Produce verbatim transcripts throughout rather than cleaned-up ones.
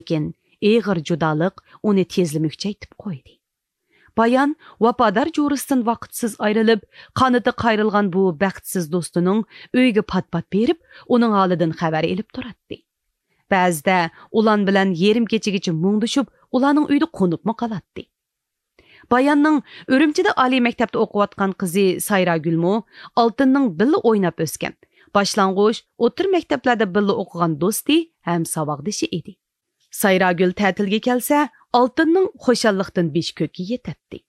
لېكىن ئېغىر جۇدالىق ئۇنى تېزلا مۈكچەيتىپ قويدى. بايان ۋاپادار جورىسىدىن ۋاقىتسىز ئايرىلىپ، قانىتى قايرىلغان بۇ بەختسىز دوستىنىڭ ئۆيىگە پات-پات بېرىپ، ئۇنىڭ ھالىدىن خەۋەر ئېلىپ تۇراتتى. بەزىدە ئۇلان بىلەن يېرىم كېچىگىچە مۇڭدىشىپ، ئۇلارنىڭ ئۆيىدە قونۇپمۇ قالاتتى. باياننىڭ ئۈرۈمچىدە ئالىي مەكتەپتە ئوقۇۋاتقان قىزى سايراگۈلمۇ ئالتىننىڭ بىللە ئويناپ ئۆسكەن، باشلانغۇچ، ئوتتۇرا مەكتەپلەردە بىللە ئوقۇغان دوستى ھەم ساۋاقدىشى ئىدى. سايراگۈل تەتىلگە كەلسە، ئالتىننىڭ خۇشاللىقتىن بېشى كۆككە يېتەتتى.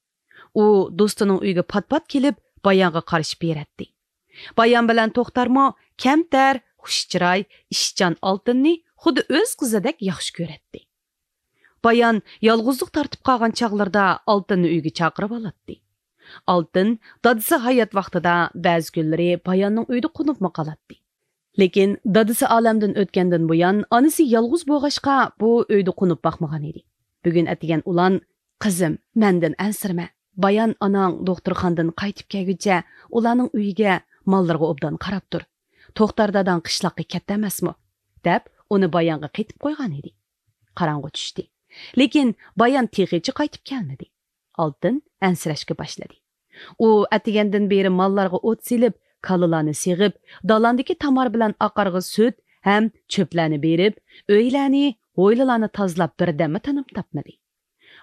ئۇ دوستىنىڭ ئۆيىگە پات-پات كېلىپ، بايانغا قارىشىپ بېرەتتى. بايان بىلەن توختارمۇ كەمتەر، خۇش چىراي، ئىشچان ئالتىننى خۇددى ئۆز قىزىدەك ياخشى كۆرەتتى. بايان يالغۇزلۇق تارتىپ قالغان چاغلىرىدا ئالتىننى ئۆيىگە چاقىرىۋالاتتى. ئالتىن دادىسى ھايات ۋاقتىدا بەزى كۈنلىرى باياننىڭ ئۆيىدە قونۇپمۇ قالاتتى. لېكىن دادىسى ئالەمدىن ئۆتكەندىن بۇيان، ئانىسى يالغۇز بولغاچقا، بۇ ئۆيدە قونۇپ باقمىغان ئىدى. بۈگۈن ئەتىگەن ئۇلان، «قىزىم، مەندىن ئەنسىرىمە. بايان ئاناڭ دوختۇرخانىدىن قايتىپ كەلگۈچە ئۇلارنىڭ ئۆيىگە، ماللىرىغا ئوبدان قاراپ تۇر. توختار داداڭ قىشلاققا كەتتى ئەمەسمۇ؟» دەپ، ئۇنى بايانغا قېتىپ قويغان ئىدى. قاراڭغۇ چۈشتى. لېكىن بايان تېخىچە قايتىپ كەلمىدى. ئالتىن ئەنسىرەشكە باشلىدى. ئۇ ئەتىگەندىن بېرى ماللارغا ئوت سېلىپ، كالىلارنى سېغىپ، دالاندىكى تامار بىلەن ئاقارغا سۈت ھەم چۆپلەرنى بېرىپ، ئۆيلەرنى، ھويلىلارنى تازىلاپ، بىردەممۇ تىنىم تاپمىدى.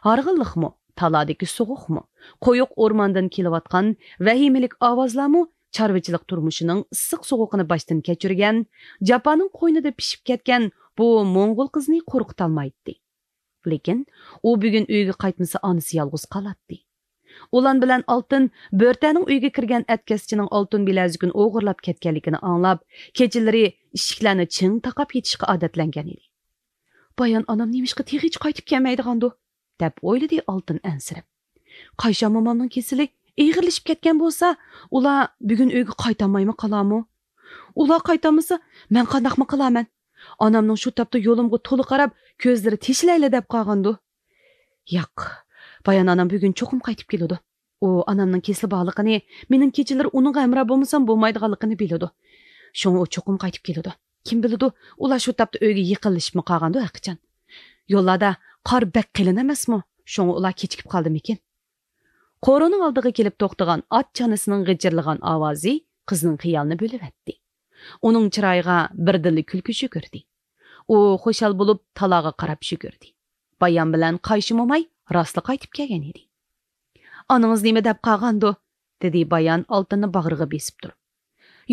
ھارغىنلىقمۇ، تالادىكى سوغۇقمۇ، قويۇق ئورماندىن كېلىۋاتقان ۋەھىمىلىك ئاۋازلارمۇ چارۋىچىلىق تۇرمۇشىنىڭ ئىسسىق سوغۇقىنى باشتىن كەچۈرگەن، جاپانىڭ قوينىدا پىشىپ كەتكەن بۇ موڭغۇل قىزنى قورقۇتالمايتتى. لېكىن ئۇ بۈگۈن ئۆيگە قايتمىسا، ئانىسى يالغۇز قالاتتى. ئۇلان بىلەن ئالتىن بۆرتەنىڭ ئۆيىگە كىرگەن ئەتكەسچىنىڭ ئالتۇن بىلەزۈكىنى ئوغرىلاپ كەتكەنلىكىنى ئاڭلاپ، كېچىلىرى ئىشىكلەرنى چىڭ تاقاپ يېتىشقا ئادەتلەنگەن ئىدى. «بايان ئانام نېمىشقا تېخىچە قايتىپ كەلمەيدىغاندۇ؟» دەپ ئويلىدى ئالتىن ئەنسىرەپ. «قايشام مومامنىڭ كېسىلى ئېغىرلىشىپ كەتكەن بولسا، ئۇلار بۈگۈن ئۆيگە قايتالمايمۇ قالارمۇ؟ ئۇلار قايتالمىسا، مەن قانداقمۇ قىلارمەن؟ ئانامنىڭ شۇ تاپتا يولۇمغا تولا قاراپ، كۆزلىرى تېشىلايلا دەپ قالغاندۇ؟ ياق، بايان ئانام بۈگۈن چوقۇم قايتىپ كېلىدۇ. ئۇ ئانامنىڭ كېسىلى بارلىقىنى، مېنىڭ كېچىلىرى ئۇنىڭغا ھەمراھ بولمىسام بولمايدىغانلىقىنى بىلىدۇ. شۇڭا ئۇ چوقۇم قايتىپ كېلىدۇ. كىم بىلىدۇ، ئۇلار شۇ تاپتا ئۆيگە يېقىنلىشىپمۇ قالغاندۇ ھەقىچان. يوللاردا قار بەك قېلىن ئەمەسمۇ؟ شۇڭا ئۇلار كېچىكىپ قالدىمىكىن؟» قورۇنىڭ ئالدىغا كېلىپ توختىغان ئات چانىسىنىڭ غىچىرلىغان ئاۋازى قىزنىڭ خىيالىنى بۆلۈۋەتتى. ئۇنىڭ چىرايىغا بىردىنلا كۈلكە يۈگۈردى. ئۇ خۇشال بولۇپ، تالاغا قاراپ يۈگۈردى. بايان بىلەن قايشى موماي راستلا قايتىپ كەلگەن ئىدى. «ئانىڭىز نېمە دەپ قالغاندۇ؟» دېدى بايان ئالتۇننى باغرىغا بېسىپ تۇرۇپ.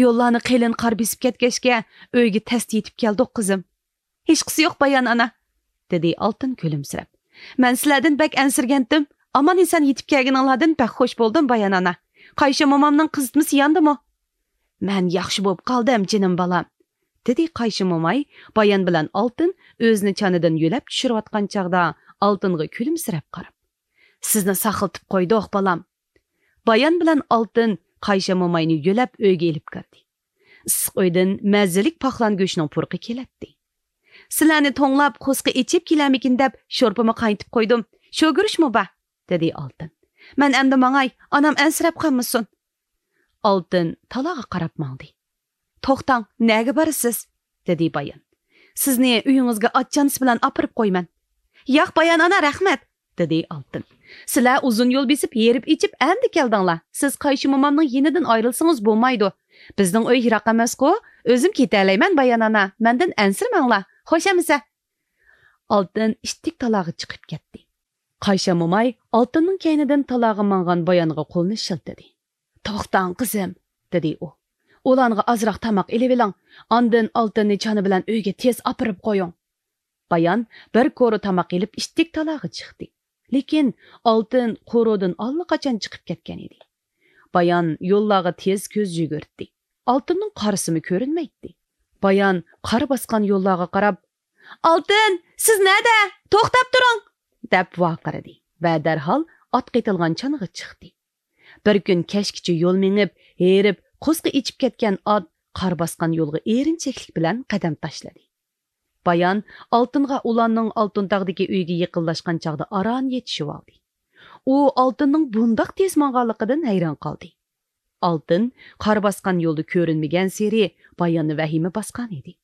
«يوللارنى قېلىن قار بېسىپ كەتكەچكە، ئۆيگە تەستە يېتىپ كەلدۇق، قىزىم.» «ھېچقىسى يوق، بايان ئانا.» دېدى ئالتۇن كۈلۈمسىرەپ. «مەن سىلەردىن بەك ئەنسىرىگەنتىم. ئامان ئېسەن يېتىپ كەلگىنىڭلاردىن بەك خوش بولدۇم، بايان ئانا. قايشى مومامنىڭ قىزىتمىسى ياندىمۇ؟» «مەن ياخشى بولۇپ قالدىم، جېنىم بالام.» دېدى قايشى موماي بايان بىلەن ئالتۇن ئۆزىنى چانىدىن يۆلەپ چۈشۈرۈۋاتقان چاغدا ئالتۇنغا كۈلۈمسىرەپ قاراپ. «سىزنى ساقلىتىپ قويدۇق، بالام.» بايان بىلەن ئالتۇن قايشى موماينى يۆلەپ ئۆيگە ئېلىپ كىردى. ئىسسىق ئۆيدىن مەززىلىك پاقلان گۆشىنىڭ پۇرىقى كېلەتتى. «سىلەرنى توڭلاپ، قورسىقى ئېچىپ كېلەرمىكىن دەپ، شورپىمۇ قاينىتىپ قويدۇم. شوگۈرۈچمۇ بار.» دېدى ئالتۇن. «مەن ئەمدى ماڭاي، ئانام ئەنسىرەپ قالمىسۇن.» ئالتۇن تالاغا قاراپ ماڭدى. «توختاڭ، نەگە بارىسىز؟» دېدى بايان. «سىزنى ئۆيىڭىزگە ئات چانىسى بىلەن ئاپىرىپ قويىمەن.» «ياق، بايان ئانا، رەھمەت.» دېدى ئالتۇن. «سىلەر ئۇزۇن يول بېسىپ، ھېرىپ ئېچىپ ئەمدى كەلدىڭلار. سىز قايشى مومامنىڭ يېنىدىن ئايرىلسىڭىز بولمايدۇ. بىزنىڭ ئۆي يىراق ئەمەسقۇ؟ ئۆزۈم كېتەلەيمەن، بايان ئانا. مەندىن ئەنسىرىمەڭلار. خوش ئەمىسە.» ئالتۇن ئىتتىك تالاغا چىقىپ كەتتى. قايشى موماي ئالتۇننىڭ كەينىدىن تالاغا ماڭغان بايانغا قولىنى شىلتىدى. «توختاڭ، قىزىم،» دېدى ئۇ. «ئۇلانغا ئازراق تاماق ئېلىۋېلىڭ، ئاندىن ئالتۇننى چانا بىلەن ئۆيگە تېز ئاپىرىپ قويۇڭ.» بايان بىر كورا تاماق ئېلىپ ئىتتىك تالاغا چىقتى. لېكىن ئالتۇن قورۇدىن ئاللىقاچان چىقىپ كەتكەن ئىدى. بايان يوللارغا تېز كۆز يۈگۈرتتى. ئالتۇننىڭ قارىسىمۇ كۆرۈنمەيتتى. بايان قار باسقان يوللارغا قاراپ، «ئالتۇن، سىز نەدە؟ توختاپ تۇرۇڭ!» دەپ ۋارقىرىدى ۋە دەرھال ئاتقا ئېتىلغان چانىغا چىقتى. بىر كۈن كەچكىچە يول مېڭىپ، ھېرىپ، قورسىقى ئېچىپ كەتكەن ئات قار باسقان يولغا ئېرىنچەكلىك بىلەن قەدەم تاشلىدى. بايان ئالتۇنغا ئۇلاننىڭ ئالتۇن تاغدىكى ئۆيىگە يېقىنلاشقان چاغدا ئاران يېتىشىۋالدى. ئۇ ئالتۇننىڭ بۇنداق تېز ماڭغانلىقىدىن ھەيران قالدى. ئالتۇن قار باسقان يولدا كۆرۈنمىگەنسېرى باياننى ۋەھىمە باسقان ئىدى.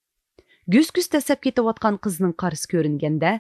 گۈس-گۈس دەسسەپ كېتىۋاتقان قىزنىڭ قارىسى كۆرۈنگەندە،